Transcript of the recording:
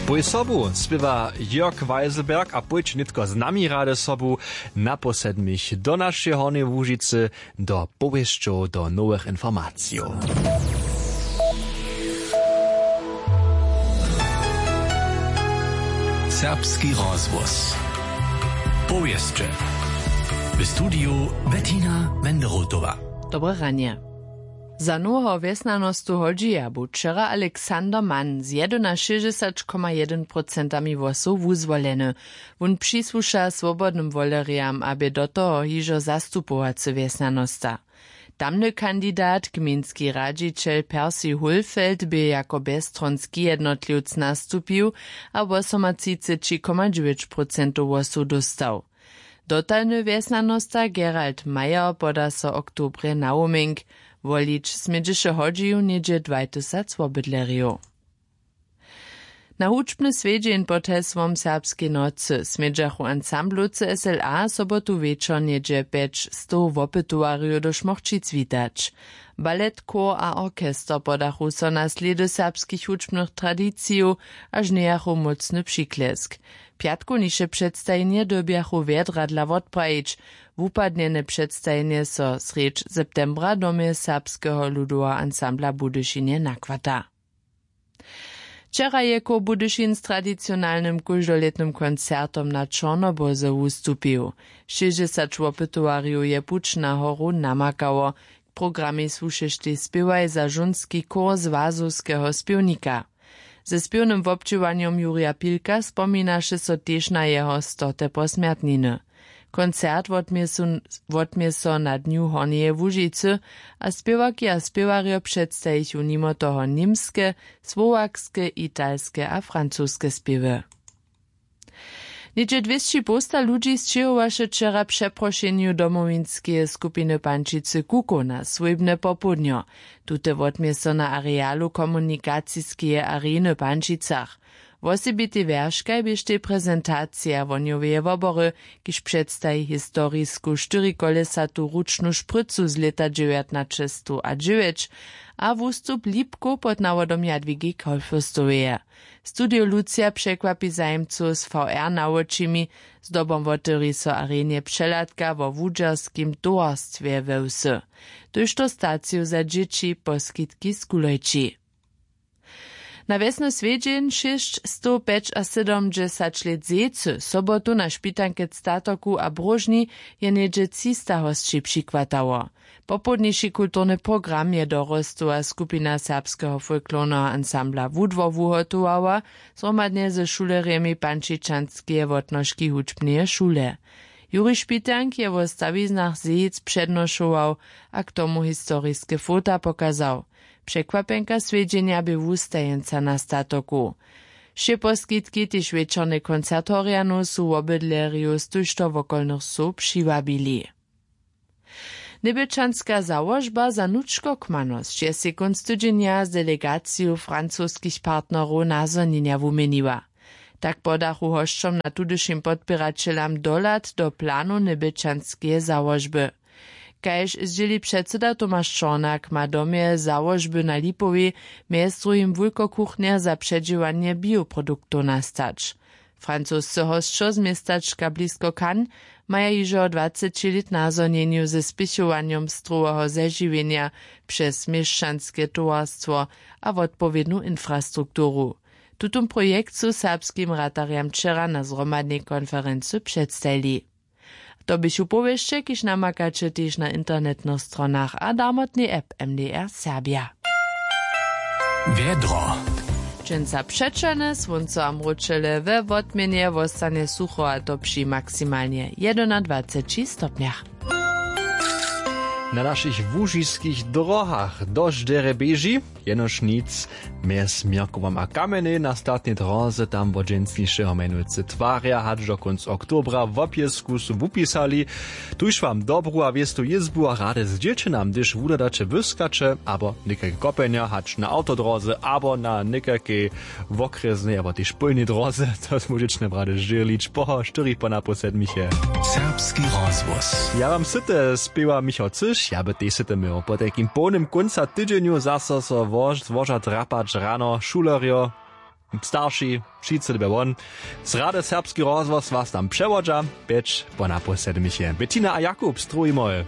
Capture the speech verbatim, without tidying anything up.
Pój sobu spěwa Jörg Weiselberg a pójće nětko z nami rady sobu na pół sedmich do našeje Hornjeje Łužicy, do powěsćow, do nowych informacijow. Serbski rozhłos. Powěsće. W studiju Bettina Wenderotowa. Dobre ranje. Za noweho wjesnjanostu hodźija bu wčera Alexander Mann z jedynašěsćdźesat koma jedyn procentami hłosow wuzwoleny. Wón přisłuša swobodnym wolerijam a bě do toho hižo zastupowacy wjesnjanosta. Tamny kandidat, gmejnski radźićel Percy Hulfeld, bě jako bjezstronski jednotliwc nastupił a wosomatřiceći koma dźewjeć procentow hłosow dóstał. Dotalny wjesnjanosta Gerald Meyer poda so w oktobrje na Woming. Wolić smědźeše hodźiju něhdźe dwaj tysac wobydlerjow. Na hudźbny swjedźeń pod hesłom Serbskej nocy smědźachu ansamblowcy S L A sobotu wječor něhdźe pjećstow wopytowarjow do Šmochćic witać. Balet, chór a orchester podachu so na slědy serbskich hudźbnych tradicijow a žnjejachu mócny přiklesk. Pjatkowniše předstajenje dyrbjachu wjedra dla wotprajić. Wupadnjene předstajenje so srjedź septembra w domje Serbskeho ludoweho ansambla w Budyšinje nachwata. Wčera je chór Budyšin z tradicionalnym kóždolětnym koncertom na Čornobóze wustupił. Šěsćdźesat wopytowarjow je puć na horu namakało. K programej słušeše tež spěwaj za žónski chór Złazowskeho spěwnika. Ze spěwnym wobdźěłanjom Jurja Pilka spominaše so tež na jeho stote posmjertniny. Koncert wotmě su-, wotmě so na Dnju Hornjeje Łužicy a spěwarki a spěwarjo předstajichu nimo toho němske, słowakske, italske a francoske spěwy. Něhdźe dwěsći połsta ludźi sćěhowaše wčera přeprošenju domowinskeje skupiny Pančicy Kukow na swójbne popołdnjo. Tute wotmě so na arealu komunikaciskeje areny w Pančicach. Wosebitej wjerškaj běštej prezentacija wohnjoweje wobory, kiž předstaji historisku štyrikólesatu ručnu šprycu z lěta dźewjatnaćestow a dźewjeć a wustup lipkow pod nawodom Jadwigi Kolfürstoweje. Studio Lucija překwapi zajimcow z V R na wočimi. Zdobom wotyri so arenje přehladka wo wudźerskim towarstwje we wsy, tójšto staciju za dźěći, poskitki z kulojči. Na wjesny swjedźeń šěsćstowpjećasydomdźesat lět zecy sobotu na špitanke w Statoku a Bróžni je něhdźe třista hosći přichwatało. Popołdniši kulturny program je dorostowa skupina serbskeho folklorneho ansambla Wudwor wuhotowała, zhromadnje ze šulerjemi Pančičanskeje wotnoški hudźbneje šule. Juri Špitank je wo stawiznach zejic přednošował a k tomu historiske fota pokazał. Překwapjenka swjedźenja bě wustajeńca na statoku. Wšě poskitki, tež wječorny koncert Horjanow, su wobydlerjow z tójšto wokolnych wsow přiwabili. Njebjelčanska załožba za hnučkokmanosć je sej kónc tydźenja z delegaciju francoskich partnerow nazhonjenja wuměniła. Tak podachu hosćom na tudyšim podpěraćelam dohlad do planow njebjelčanskeje załožby. Kaž zdźěli předsyda Tomaš Čornak, ma w domje załožby na Lipowej mjez druhim wulkokuchnje za předźěłanje bioproduktow nastać. Francosce hosćo z městačka blisko Cannes maja hižo dwaceći lět nazhonjenju ze spěchowanjom stroweho zežiwjenja přez měšćanske towarstwo a wotpowědnu infrastrukturu. Tutón projekt su serbskim ratarjam wčera na zhromadnej konferency předstajili. To běchu powěsće, kiž namakaće tež na internetnych stronach a darmotnej app M D R Serbia. Wjedro. Dźensa přećelne słónco a mróčele, we wotměnje wostanje sucho, a to při maksimalnje jedynadwaceći stopnjach. Na našich łužiskich drohach dosć derje běži, jenož nic mjez Měrkowom a Kamjenej na statnej dróze, tam wot dźensnišeho mjenujcy twarja hač do kónc oktobra. Wo pjesku su wupisali. Tuž wam dobru a wěstu jězbu a rady zdźělće nam, hdyž wuhladaće, błyskaće abo někajke kopenja hač na awtodróze abo na někajkej wokrjesnej abo tež pólnej dróze. To móžeće nam rady zdźělić po štyrich po napoł sedmich je. Serbski rozhłos. Ja wam syte spěwa Michał Cyš, ja by tež syte měł. Po tajkim połnym kónca tydźenju zaso so wož-, złoža drapać rano šulerjo. Starši, wšitcy dybja won. Z rady serbski rozhłos was tam přewodźa. Pjeć po napoł sedmich je bettina a jakub, struhi moj.